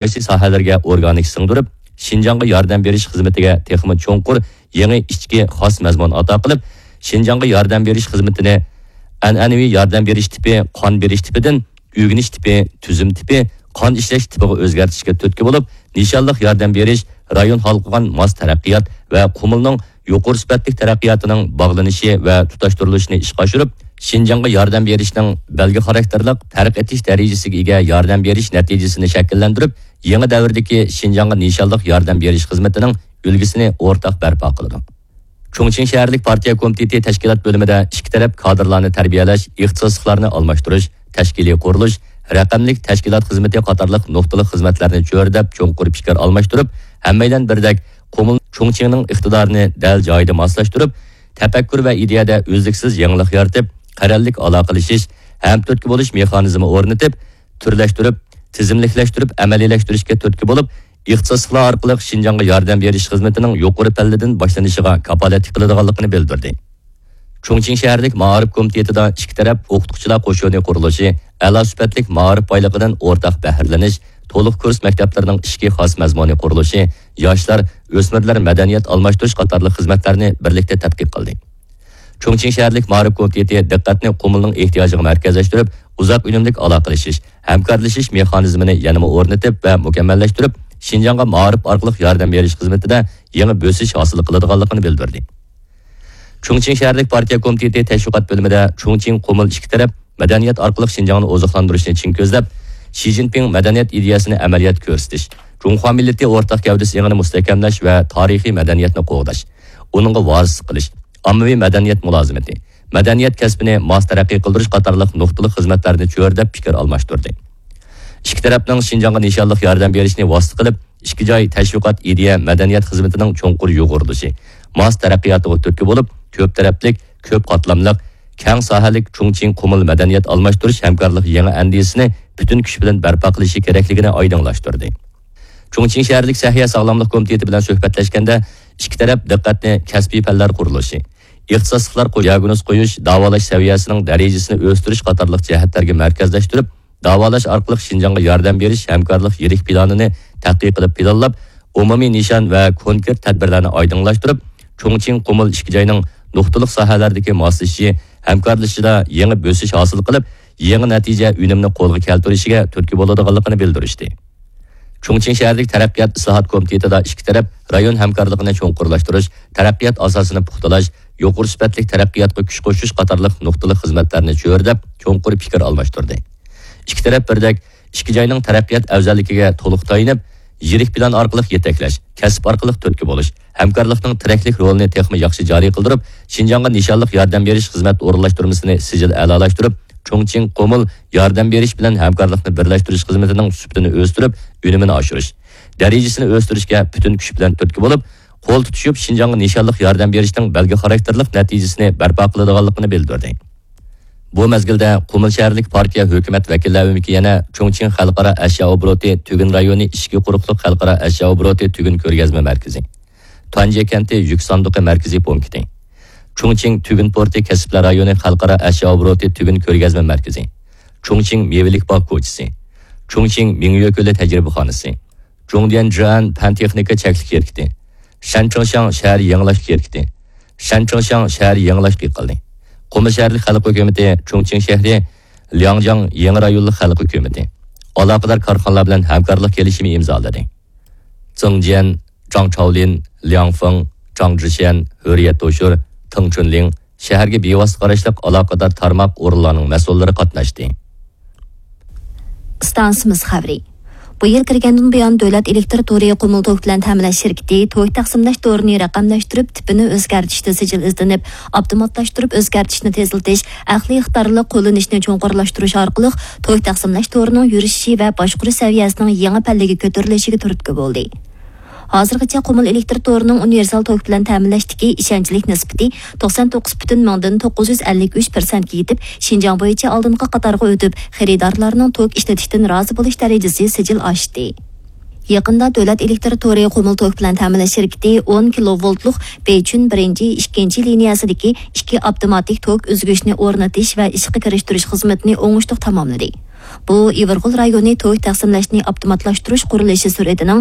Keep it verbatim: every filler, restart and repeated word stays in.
تەۋەلىكى ساھەلىرىگە ئورگانىك سىڭدۈرۈپ، شىنجاڭغا ياردەم بېرىش خىزمىتىگە تېخىمۇ چوڭقۇر يېڭى ئىچكى خاس مەزمۇن ئاتا قىلىپ، شىنجاڭغا ياردەم بېرىش خىزمىتىنى ئەنئەنىۋى ياردەم بېرىش تىپى، قان بېرىش تىپىدىن ئۆگىنىش تىپى، تۈزۈم تىپى، قان ئىشلەش تىپىغا ئۆزگەرتىشكە تۈرتكە بولۇپ، نىشانلىق ياردەم بېرىش رايون ھالقىغان ماس تەرەققىيات ۋە قۇمۇلنىڭ يۇقىرى سۈپەتلىك تەرەققىياتىنىڭ باغلىنىشى ۋە تۇتاشتۇرۇلۇشىنى ئىشقا ئاشۇرۇپ، شىنجاڭغا ياردەم بېرىشنىڭ بەلگە خاراكتېرلىق پەرق ئېتىش دەرىجىسىگە ئىگە ياردەم بېرىش نەتىجىسىنى شەكىللەندۈرۈپ، يېڭى دەۋردىكى شىنجاڭغا نىشانلىق ياردەم بېرىش خىزمىتىنىڭ ئۈلگىسىنى ئورتاق بەرپا قىلىدۇ. چۇڭچىڭ شەھەرلىك پارتىيە كومىتېتى تەشكىلات بۆلۈمىدە ئىككى تەرەپ كادىرلارنى تەربىيەلەش، ئىختىساسلىقلارنى ئالماشتۇرۇش، تەشكىلىي قۇرۇلۇش، رەقەملىك تەشكىلات خىزمىتى قاتارلىق نۇقتىلىق خىزمەتلەرنى چۆرىدەپ چوڭقۇر پىكىر ئالماشتۇرۇپ، ھەممەيلەن بىردەك قۇمۇل چۇڭچىڭنىڭ ئىقتىدارىنى دەل جايىدا ماسلاشتۇرۇپ، تەپەككۇر ۋە ئىدىيەدە ئۈزلۈكسىز يېڭىلىق يارىتىپ، قەرەللىك ئالاقىلىشىش، ھەمتۈرتكە بولۇش مېخانىزمى ئورنىتىپ، تۈرلەشتۈرۈپ، تىزىملىكلەشتۈرۈپ، ئەمەلىيلەشتۈرۈشكە تۈرتكە بولۇپ، ئىختىساسلىقلار ئارقىلىق شىنجاڭغا ياردەم بېرىش خىزمىتىنىڭ يۇقىرى پەللىدىن باشلىنىشىغا كاپالەتلىك قىلىدىغانلىقىنى بىلدۈردى. چۇڭچىڭ شەھەرلىك مائارىپ كومىتېتىدا ئىككى تەرەپ ئوقۇتقۇچىلار قوشۇنى قۇرۇلۇشى، ئەلا سۈپەتلىك مائارىپ بايلىقىدىن ئورتاق بەھرىلىنىش، تولۇق كۇرس مەكتەپلىرىنىڭ ئىچكى خاس مەزمۇنى قۇرۇلۇشى، ياشلار، ئۆسمۈرلەر مەدەنىيەت ئالماشتۇرۇش قاتارلىق خىزمەتلەرنى بىرلىكتە تەتقىق قىلدى. چۇڭچىڭ شەھەرلىك مائارىپ كومىتېتى دىققەتنى قۇمۇلنىڭ ئېھتىياجىغا مەركەزلەشتۈرۈپ، ئۇزاق ئۈنۈملۈك ئالاقىلىشىش، ھەمكارلىشىش مېخانىزمىنى يەنىمۇ ئورنىتىپ ۋە مۇكەممەللەشتۈرۈپ، شىنجاڭغا مائارىپ ئارقىلىق ياردەم بېرىش خىزمىتىدە يېڭى بۆسۈش ھاسىل قىلىدىغانلىقىنى بىلدۈردى. چۇڭچىڭ شەھەرلىك پارتىيە كومىتېتى تەشۋىقات بۆلۈمىدە چۇڭچىڭ قۇمۇل ئىككى تەرەپ مەدەنىيەت ئارقىلىق شىنجاڭنى ئوزۇقلاندۇرۇشنى چىڭ كۆزلەپ، شى جىنپىڭ مەدەنىيەت ئىدىيەسىنى ئەمەلىيەتكە كۆرسىتىش، جۇڭخۇا مىللىتى ئورتاق گەۋدىسى ئېڭىنى مۇستەھكەملەش ۋە تارىخىي مەدەنىيەتنى قوغداش، ئۇنىڭغا ۋارىسلىق قىلىش، ئاممىۋى مەدەنىيەت مۇلازىمىتى، مەدەنىيەت كەسپىنى ماس تەرەققىي قىلدۇرۇش قاتارلىق نۇقتىلىق خىزمەتلەرنى چۆرىدەپ پىكىر ئالماشتۇردى. ئىككى تەرەپنىڭ شىنجاڭغا نىشانلىق ياردەم بېرىشنى ۋاسىتە قىلىپ، ئىككى جاي تەشۋىقات، ئىدىيە، مەدەنىيەت خىزمىتىنىڭ چوڭقۇر يۇغۇرۇلۇشى، ماس تەرەققىياتىغا تۈرتكە بولۇپ، كۆپ تەرەپلىك، كۆپ قاتلاملىق، كەڭ ساھەلىك چۇڭچىڭ قۇمۇل مەدەنىيەت ئالماشتۇرۇش ھەمكارلىق يېڭى ئەندىزىسىنى پۈتۈن كۈچ بىلەن بەرپا قىلىشى كېرەكلىكىنى ئايدىڭلاشتۇردى. چۇڭچىڭ شەھەرلىك سەھىيە ساغلاملىق كومىتېتى بىلەن سۆھبەتلەشكەندە، ئىككى تەرەپ دىققەتنى كەسپىي پەنلەر قۇرۇلۇشى، ئىختىساسلىقلار قويۇش، دىئاگنوز قويۇش، داۋالاش سەۋىيەسىنىڭ دەرىجىسىنى ئۆستۈرۈش قاتارلىق جەھەتلەرگە مەركەزلەشتۈرۈپ، داۋالاش ئارقىلىق شىنجاڭغا ياردەم بېرىش ھەمكارلىق يىرىك پىلانىنى تەتقىق قىلىپ پىلانلاپ، ئومۇمىي نىشان ۋە كونكرېت تەدبىرلەرنى ئايدىڭلاشتۇرۇپ، چۇڭچىڭ قۇمۇل ئىككى جاينىڭ نۇقتىلىق ساھەلەردىكى ماسلىشىشى، ھەمكارلىشىشىدا يېڭى بۆسۈش ھاسىل قىلىپ، يېڭى نەتىجە ئۈنۈمنى قولغا كەلتۈرۈشىگە تۈرتكە بولىدىغانلىقىنى بىلدۈرۈشتى. چۇڭچىڭ شەھەرلىك تەرەققىيات ئىسلاھات كومىتېتىدا ئىككى تەرەپ رايون ھەمكارلىقىنى چوڭقۇرلاشتۇرۇش، تەرەققىيات ئاساسىنى پۇختىلاش، يۇقىرى سۈپەتلىك تەرەققىياتقا كۈچ قوشۇش قاتارلىق نۇقتىلىق خىزمەتلەرنى چۆرىدەپ، چوڭقۇر پىكىر ئالماشتۇردى. ئىككى تەرەپ بىردەك ئىككى جاينىڭ تەرەققىيات ئەۋزەللىكىگە تولۇق تايىنىپ، يىرىك پىلان ئارقىلىق يېتەكلەش، كەسىپ ئارقىلىق تۈرتكە بولۇش، ھەمكارلىقنىڭ تىرەكلىك رولىنى تېخىمۇ ياخشى جارى قىلدۇرۇپ، شىنجاڭغا نىشانلىق ياردەم بېرىش خىزمەت ئورۇنلاشتۇرمىسىنى سىجىل ئەلالاشتۇرۇپ، چۇڭچىڭ قۇمۇل ياردەم بېرىش بىلەن ھەمكارلىقنى بىرلەشتۈرۈش خىزمىتىنىڭ سۈپىتىنى ئۆستۈرۈپ، ئۈنۈمىنى ئاشۇرۇش، دەرىجىسىنى ئۆستۈرۈشكە پۈتۈن كۈچ بىلەن تۈرتكە بولۇپ، قول تۇتۇشۇپ شىنجاڭغا نىشانلىق ياردەم بېرىشنىڭ بەلگە خاراكتېرلىق نەتىجىسىنى بەرپا قىلىدىغانلىقىنى بىلدۈردى. بۇ مەزگىلدە قۇمۇل شەھەرلىك پارتىيە ھۆكۈمەت ۋەكىللەر ئۆمىكى يەنە چۇڭچىڭ خەلقئارا ئەشيا ئوبوروتى تۈگۈن رايونى ئىچكى قۇرۇقلۇق خەلقئارا ئەشيا ئوبوروتى تۈگۈن كۆرگەزمە مەركىزى، تۇەنجيې كەنتى يۈك ساندۇقى مەركىزىي پونكىتى، چۇڭچىڭ تۈگۈن پورتى كەسىپلەر رايونى خەلقئارا ئەشيا ئوبوروتى تۈگۈن كۆرگەزمە مەركىزى، چۇڭچىڭ مېۋىلىك باغ كوچىسى، چۇڭچىڭ مىڭيۆ كۆلى تەجرىبىخانىسى، جۇڭديەنجيەن پەن تېخنىكا چەكلىك شىركىتى، شەنچىڭشياڭ شەھەر يېڭىلاش شىركىتى، شەنچىڭشياڭ شەھەر يېڭىلاش ئىقلىمى، قۇمۇل شەھەرلىك خەلق ھۆكۈمىتى، چۇڭچىڭ شەھىرى لياڭجياڭ يېڭى رايونلۇق خەلق ھۆكۈمىتى، ئالاقىدار كارخانىلار بىلەن ھەمكارلىق كېلىشىمى ئىمزالىدى. زېڭ جيەن، جاڭ چاۋلىن، لياڭ فېڭ، جاڭ جىشيەن، ھۆرىيەت توشۇر، تېڭ چۈنلىڭ، شەھەرگە بىۋاسىتە قاراشلىق ئالاقىدار تارماق ئورۇنلارنىڭ مەسئۇللىرى قاتناشتى. ئىستانسىمىز خەۋىرى. بۇ يىل كىرگەندىن بۇيان، دۆلەت ئېلېكتىر تورى قۇمۇل توك بىلەن تەمىنلەش شىركىتى توك تەقسىملەش تورىنى رەقەملەشتۈرۈپ، تىپىنى ئۆزگەرتىشتە سىجىل ئىزدىنىپ، ئاپتوماتلاشتۇرۇپ ئۆزگەرتىشنى تېزلىتىش، ئەقلىي ئىقتىدارلىق قوللىنىشنى چوڭقۇرلاشتۇرۇش ئارقىلىق توك تەقسىملەش تورىنىڭ يۈرۈشۈشى ۋە باشقۇرۇش سەۋىيەسىنىڭ يېڭى پەللىگە كۆتۈرۈلۈشىگە تۈرتكە بولدى. ھازىرغىچە قۇمۇل ئېلېكتىر تورىنىڭ ئۇنىۋېرسال توك بىلەن تەمىنلەشتىكى ئىشەنچلىك نىسبىتى توقسان توققۇز پۈتۈن مىڭدىن توققۇز يۈز ئەللىك ئۈچ پىرسەنتكە يېتىپ، شىنجاڭ بويىچە ئالدىنقى قاتارغا ئۆتۈپ، خېرىدارلارنىڭ توك ئىشلىتىشتىن رازى بولۇش دەرىجىسى سىجىل ئاشتى. يېقىندا دۆلەت ئېلېكتىر تورى قۇمۇل توك بىلەن تەمىنلەش شىركىتى ئون كىلوۋولتلۇق بېيچۈن بىرىنچى، ئىككىنچى لىنىيەسىدىكى ئىككى ئاپتوماتىك توك ئۈزگۈچنى ئورنىتىش ۋە ئىشقا كىرىشتۈرۈش خىزمىتىنى ئوڭۇشلۇق تاماملىدى. بۇ ئىۋىرغول رايونى توك تەقسىملەشنى ئاپتوماتلاشتۇرۇش قۇرۇلۇشى سۈرئىتىنىڭ